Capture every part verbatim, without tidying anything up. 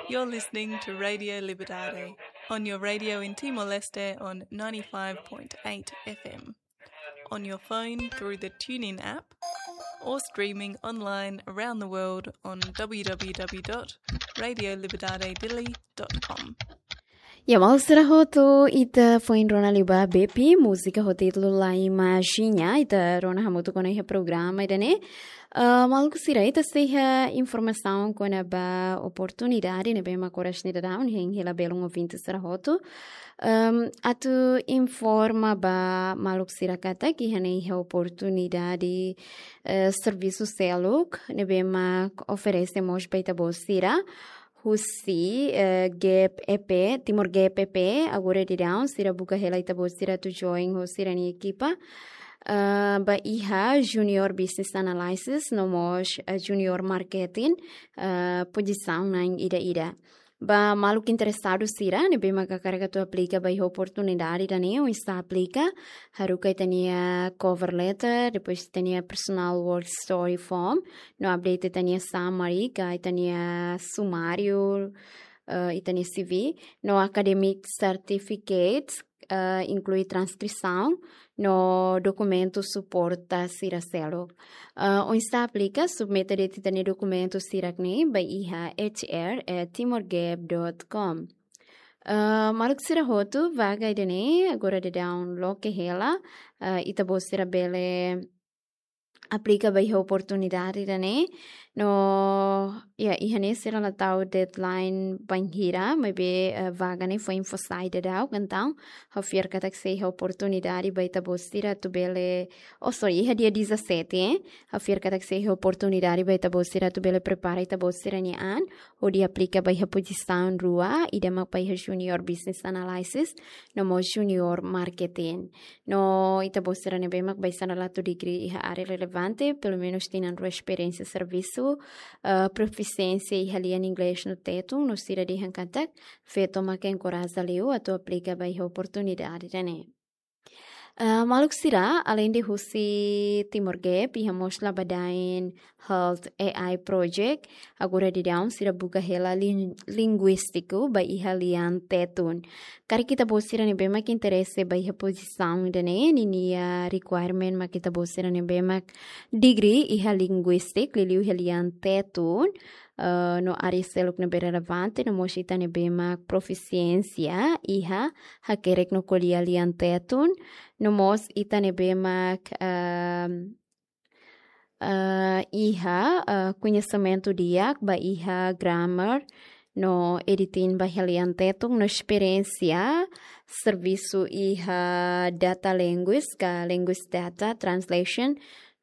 You're listening to Radio Liberdade on your radio in Timor-Leste on ninety-five point eight F M, on your phone through the TuneIn app, or streaming online around the world on w w w dot radio liberdade dili dot com. Ya, maluk sira hotu, ita foin rona liu ba Bepi, múzika ho títulu La Imagina, ita rona hamutuk ona iha programa ida-ne'e. Ah, maluk sira, ita sei iha informasaun kona-ba oportunidade ne'ebé mak oras ne'e daudaun hein hela belun ouvinte sira hotu. Ehm, atu informa ba maluk sira katak iha ne'e iha oportunidade, eh, servisu seluk ne'ebé mak oferese mós ba ita-boot sira husi, eh, Gap E P, Timor Gap E P, agora daudaun sira buka hela ita-boot sira atu join ho sira-nia ekipa, eh, ba iha Junior Business Analysis, no mós, eh, Junior Marketing, eh, pozisaun na'in ida-ida. Ba maluk interesadu sira ne'ebé mak hakarak atu aplika ba iha oportunidade ida-ne'e, oinsá aplika, haruka ita-nia cover letter, depois ita-nia personal work story form, no update ita-nia summary, ka ita-nia sumáriu, eh, ita-nia C V, no academic certificates, eh, inklui transkrisaun, no dokumentu suporta sira seluk. Eh, oinsá aplika, submete de'it ita-nia dokumentu sira-ne'e ba iha H R at timorgap dot com. Eh, maluk sira hotu, vaga ida-ne'e agora daudaun loke hela, eh, ita-boot sira bele aplika ba iha oportunidade ida-ne'e. No, ya, iha ne'e sira la tau deadline bainhira, maibé, eh, vaga ne'e foin fó sai daudaun, entaun ha'u fiar katak sei iha oportunidade ba ita-boot sira atu bele, oh, sorry, iha dia dezassete, eh? Ha'u fiar katak sei iha oportunidade ba ita-boot sira atu bele prepara ita-boot sira-nia an, hodi aplika ba iha pozisaun rua, ida mak ba iha Junior Business Analysis, no mós Junior Marketing. No ita-boot sira ne'ebé mak baibain la tau degree iha área relevante, pelumenus tinan rua esperiénsia servisu, eh, profisiénsia iha lian Inglés no Tetun, no sira dehan katak, feto mak enkoraja liu atu aplika ba iha oportunidade ida-ne'e. Eh, maluk sira, aleinde husi Timor Gap, iha mós Labadain Health A I Project, agora daudaun sira buka hela lin-, linguístiku ba iha lian Tetun. Karik ita-boot sira ne'ebé mak interese ba iha pozisaun ida-ne'e, ninia requirement mak ita-boot sira ne'ebé mak degree iha linguístika, liuliu iha lian Tetun, eh, no área seluk ne'ebé relevante, no mós ita ne'ebé mak profisiénsia iha hakerek no ko'alia lian Tetun, no mós ita ne'ebé mak, ehm, eh, iha, eh, koñesimentu di'ak ba iha grammar no editing ba iha lian Tetun, no esperiénsia servisu iha data linguist ka linguist data translation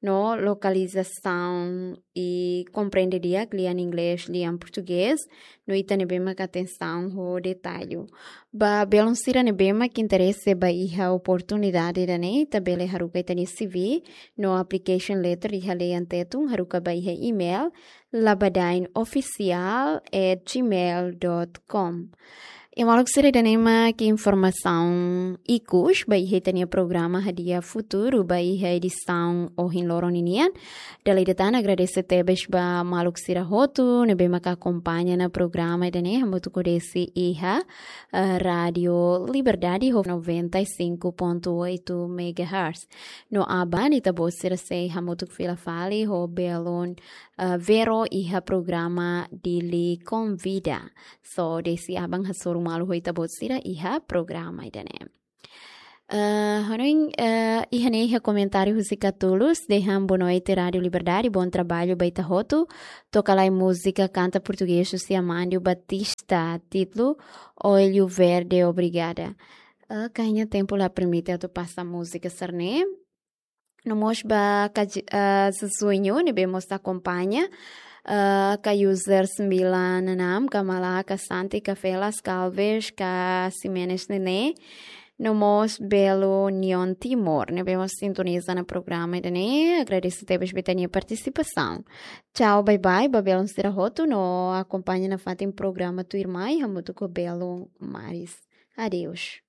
no lokalizasaun i komprende di'ak lian Inglés, lian Portugés, no ita ne'ebé mak atensaun ho detalle. Ba belun sira ne'ebé mak interese ba iha oportunidade ida-ne'e, ita bele haruka ita-nia C V no application letter iha lian Tetun, haruka ba iha email labadain official at gmail dot com. I maluk sira, ida-ne'e mak informasaun ikus ba iha ita-nia programa Hadi'a Futuru ba iha edisaun ohin loron ninian. Dala ida tan agradese tebes ba maluk sira hotu ne'ebé mak akompaña ona programa ida-ne'e hamutuk ho Desi iha, eh, Rádio Liberdade ho noventa e cinco ponto oito megahertz. No aban ita-boot sira sei hamutuk fila fali ho belun, eh, Vero iha programa Dili Konvida. So, Desi aban hasoru malu ho ita-boot sira iha programa ida-ne'e. Eh, hanoin, eh, iha ne'e iha komentáriu husi Catulus, dehan boa noite Rádio Liberdade, bom trabalho ba ita hotu. Toka lai múzika kanta portugés husi Amandio Batista, títulu Olho Verde, obrigada. Eh, kayaknya tempu la permite atu pasa múzika sira-ne'e. No mós ba ka, eh, Zezuño, ne'ebé mós akompaña, eh, ka user sembilan enam, ka Malaka Santi, ka Felas Calves, ka Ximenes Nené, no mós belun Neon Timor, ne'ebé mós sintoniza ona programa ida-ne'e, agradese tebes ba ita-nia partisipasaun. Tchau, bye bye, ba belun sira hotu, no akompaña nafatin programa tuirmai, hamutuk ho belun Maris. Adeus.